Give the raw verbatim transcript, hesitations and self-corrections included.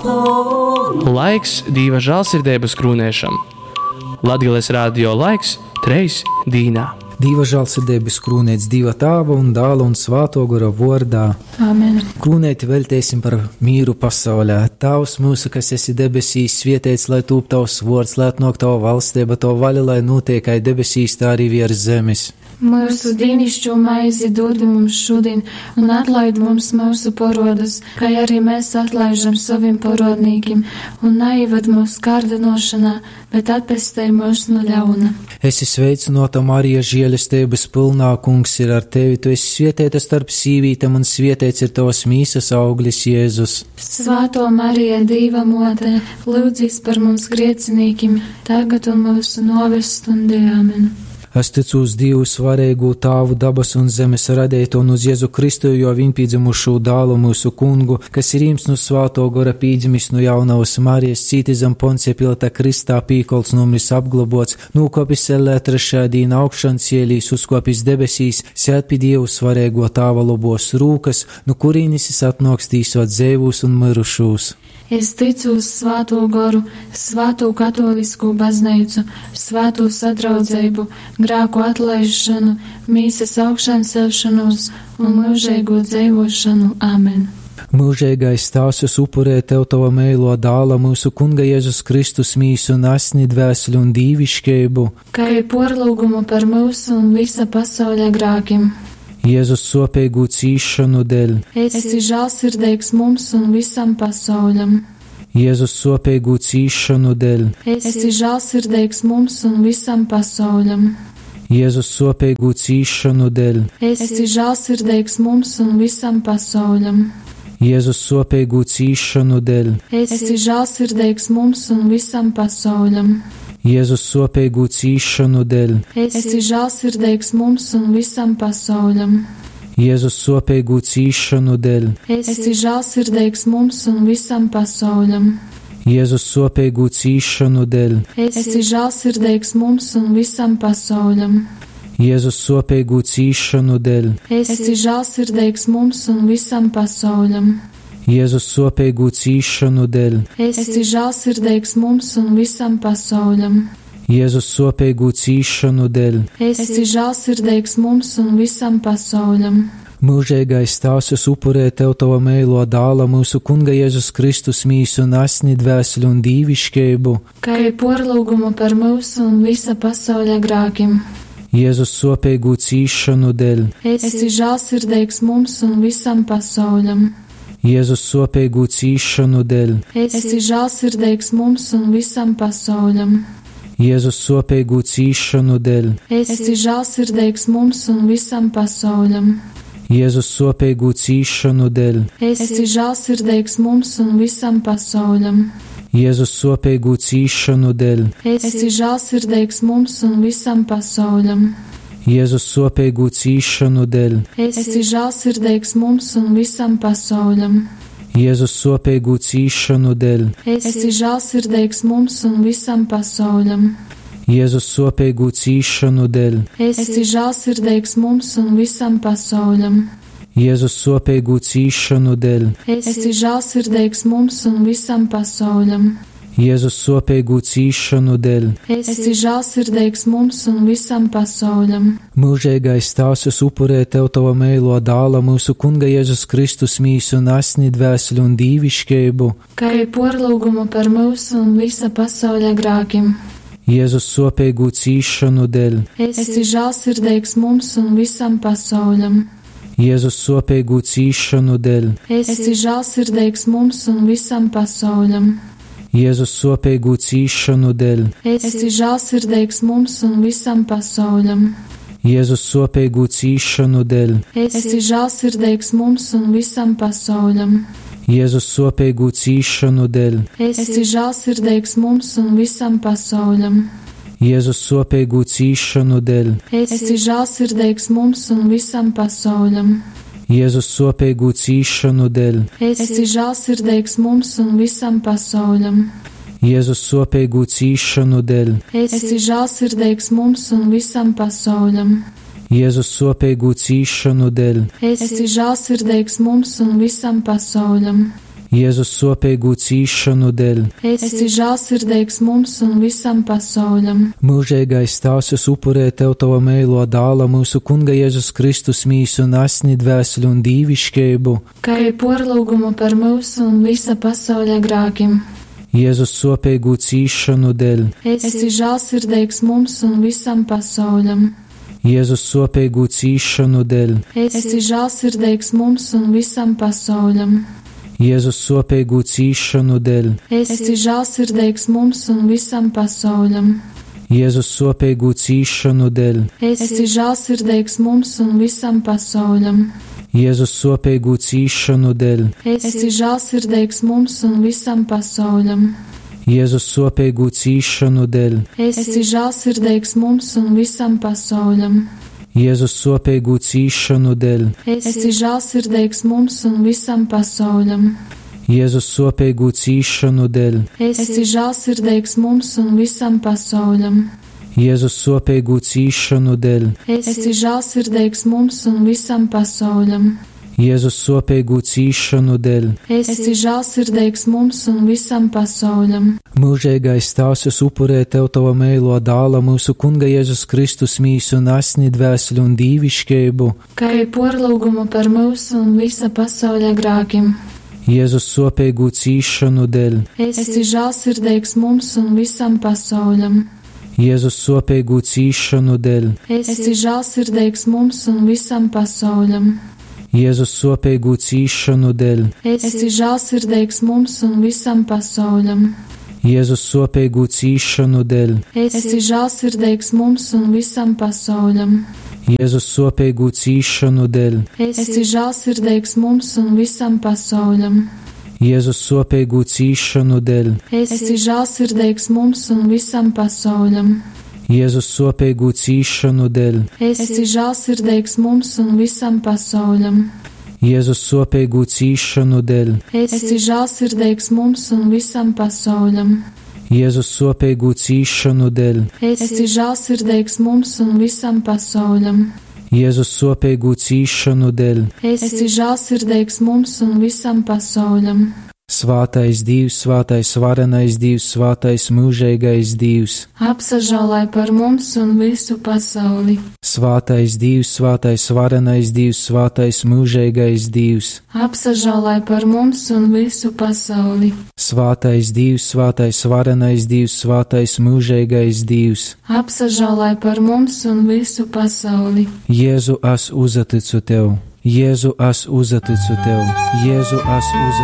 Laiks Dīva žālsirdeibas krūnēšam. Latgales radio laiks treis dīnā. Dīva žālsirdeibas krūnēts Dīva Tāva un Dāla un Svāto Gora vārdā. Amen. Krūnēti veltēsim par mīru pasaulē. Tēvs mūsu, kas esi debesīs, svietēts, lai tūp tavs vārds, lai atnāk tava valstība, tava vaļa, lai notiek kā debesīs, tā arī virs zemes. Mūsu dienascho maizi dod mums šodien, un atlaid mums mūsu porodus, kā arī mēs atlaižam saviem porodnīkim, un neieved mūsu kārdinošanā, bet atpestī mūs no ļauna. Esi sveicināta, Marija, žēlestības pilnā, kungs ir ar tevi, tu esi svietēta starp sīvītēm, un svietēts ir tavas mīsas auglis, Jēzus. Svētā Marija, Dīva mote, lūdzīs par mums grēcinīkim, tagad un mūsu noves stundī. Amen. Es ticu uz Dievu svarīgu Tāvu dabas un zemes radītu un uz Jēzu Kristu, jo viņpīdzemušo dālu mūsu kungu, kas ir īms no svāto gora pīdzimis no jaunavas Marijas, cīti zem Poncija Pilata Kristā, pīkolts numris apglobots, nūkopis ellē trešajā dīna augšan cielīs, uzkopis debesīs, sēd pie Dievu svarīgo Tāva lobos rūkas, no kurīnis es atnāks tīsot dzēvūs un mirušūs. Es ticu uz Svēto goru, Svēto katolisko baznīcu, Svēto sadraudzību, grēku atlaišanu, mīsas augšām celšanos un mūžīgo dzīvošanu. Amen. Mūžīgais tās es upurē tev tava mēlo dāla mūsu kunga Jēzus Kristus mīsu un asni dvēseli un dīvišķību. Kā ir porlūgumu par mūsu un visa pasaules grēkiem. Jēzus sopīgu cīšanu dēļ. Esi žēlsirdīgs mums un visam pasauļam. Jēzus sopīgu cīšanu dēļ. Esi žēlsirdīgs mums un visam pasauļam. Jēzus sopīgu cīšanu dēļ. Esi žēlsirdīgs mums un visam pasauļam. Jēzus sopīgu cīšanu dēļ. Esi žēlsirdīgs mums un visam pasauļam. Jēzus sopīgu cīšanu dēļ. Esi žēlsirdīgs mums un visam pasauļam. Jēzus sopīgu cīšanu dēļ. Esi žēlsirdīgs mums un visam pasauļam. Jēzus sopīgu cīšanu dēļ. Esi žēlsirdīgs mums un visam pasauļam. Jēzus sopīgu cīšanu dēļ. Esi žēlsirdīgs mums un visam pasauļam. Jēzus sopīgu cīšanu dēļ. Esi žēlsirdīgs mums un visam pasauļam. Jēzus sopīgu cīšanu dēļ. Esi žēlsirdīgs mums un visam pasauļam. Mūžīgais tās es upurē tev tava mēlo dāla mūsu kunga Jēzus Kristus mīsu un asni dvēseli un dīvišķību. Kā ir porlūgumu par mūsu un visa pasaules grēkiem. Jēzus sopīgu cīšanu dēļ. Esi žēlsirdīgs mums un visam pasauļam. Jēzus sopīgu cīšanu dēļ. Esi žēlsirdīgs mums un visam pasauļam. Jēzus sopīgu cīšanu dēļ. Esi žēlsirdīgs mums un visam pasauļam. Jēzus sopīgu cīšanu dēļ. Esi žēlsirdīgs mums un visam pasauļam. Jēzus sopīgu cīšanu dēļ. Esi žēlsirdīgs mums un visam pasauļam. Jēzus sopīgu cīšanu dēļ. Esi žēlsirdīgs mums un visam pasauļam. Jēzus sopīgu cīšanu dēļ. Esi žēlsirdīgs mums un visam pasauļam. Jēzus sopīgu cīšanu dēļ. Esi žēlsirdīgs mums un visam pasauļam. Jēzus sopīgu cīšanu dēļ. Esi žēlsirdīgs mums un visam pasauļam. Jēzus sopīgu cīšanu dēļ. Esi žēlsirdīgs mums un visam pasauļam. Mūžīgais tās es upurē tev tava mēlo dāla mūsu kunga Jēzus Kristus mīsu un asni dvēseli un dīvišķību. Kā ir porlūgumu par mūsu un visa pasaules grēkiem. Jēzus sopīgu cīšanu dēļ. Esi žēlsirdīgs mums un visam pasauļam. Jēzus sopīgu cīšanu dēļ. Esi žēlsirdīgs mums un visam pasauļam. Jēzus sopīgu cīšanu dēļ. Esi žēlsirdīgs mums un visam pasauļam. Jēzus sopīgu cīšanu dēļ. Esi žēlsirdīgs mums un visam pasauļam. Jēzus sopīgu cīšanu dēļ. Esi žēlsirdīgs mums un visam pasauļam. Jēzus sopīgu cīšanu dēļ. Esi žēlsirdīgs mums un visam pasauļam. Jēzus sopīgu cīšanu dēļ. Esi žēlsirdīgs mums un visam pasauļam. Jēzus sopīgu cīšanu dēļ. Esi žēlsirdīgs mums un visam pasauļam. Jēzus sopīgu cīšanu dēļ. Esi žēlsirdīgs mums un visam pasauļam. Jēzus sopīgo cīšanu dēļ, Esi žēlsirdīgs mums un visam pasauļam. Mūžīgais Tēvs, es upurēju tev tava meilo dāla, mūsu Kunga Jēzus Kristus mīsu un asni, dvēseli un dīvišķību, Kā arī porlūgumu par mūsu un visa pasauļa grākiem. Jēzus sopīgo cīšanu dēļ, Esi žēlsirdīgs mums un visam pasauļam. Jēzus sopīgo cīšanu dēļ, Esi žēlsirdīgs mums un visam pasauļam. Jēzus sopīgo cīšanu dēļ, Esi žēlsirdīgs mums un visam pasauļam. Jēzus sopīgo cīšanu dēļ, Esi žēlsirdīgs mums un visam pasauļam. Jēzus sopīgo cīšanu dēļ, Esi žēlsirdīgs mums un visam pasauļam. Jēzus sopīgo cīšanu dēļ, Esi žēlsirdīgs mums un visam pasauļam. Jēzus sopīgo cīšanu dēļ, Esi žēlsirdīgs mums un visam pasauļam. Jēzus sopīgo cīšanu dēļ, Esi žēlsirdīgs mums un visam pasauļam. Jēzus sopīgo cīšanu dēļ, Esi žēlsirdīgs mums un visam pasauļam. Jēzus sopīgo cīšanu dēļ, Esi žēlsirdīgs mums un visam pasauļam. Mūžīgais Tēvs, es upurēju tev tava meilo dāla, mūsu Kunga Jēzus Kristus mīsu un asni, dvēseli un dīvišķību, Kā arī porlūgumu par mūsu un visa pasauļa grākiem. Jēzus sopīgo cīšanu dēļ, Esi žēlsirdīgs mums un visam pasauļam. Jēzus sopīgo cīšanu dēļ, Esi žēlsirdīgs mums un visam pasauļam. Jēzus sopīgo cīšanu dēļ, Esi žēlsirdīgs mums un visam pasauļam. Jēzus sopīgo cīšanu dēļ, Esi žēlsirdīgs mums un visam pasauļam. Jēzus sopīgo cīšanu dēļ, Esi žēlsirdīgs mums un visam pasauļam. Jēzus sopīgo cīšanu dēļ, Esi žēlsirdīgs mums un visam pasauļam. Jēzus sopīgo cīšanu dēļ, Esi žēlsirdīgs mums un visam pasauļam. Jēzus sopīgo cīšanu dēļ, Esi žēlsirdīgs mums un visam pasauļam. Jēzus sopīgo cīšanu dēļ, Esi žēlsirdīgs mums un visam pasauļam. Jēzus sopīgo cīšanu dēļ, Esi žēlsirdīgs mums un visam pasauļam. Svātais Dievs, svātais varenais Dievs, svātais mūžīgais Dievs, Apsažālai par mums un visu pasauli. Svātais Dievs, svātais varenais Dievs, svātais mūžīgais Dievs, Apsažālai par mums un visu pasauli. Svātais Dievs, svātais varenais Dievs, svātais mūžīgais Dievs, Apsažālai par mums un visu pasauli. Jēzu, es uzticu tev, Jēzu, es uzticu tev, Jēzu, es uzticu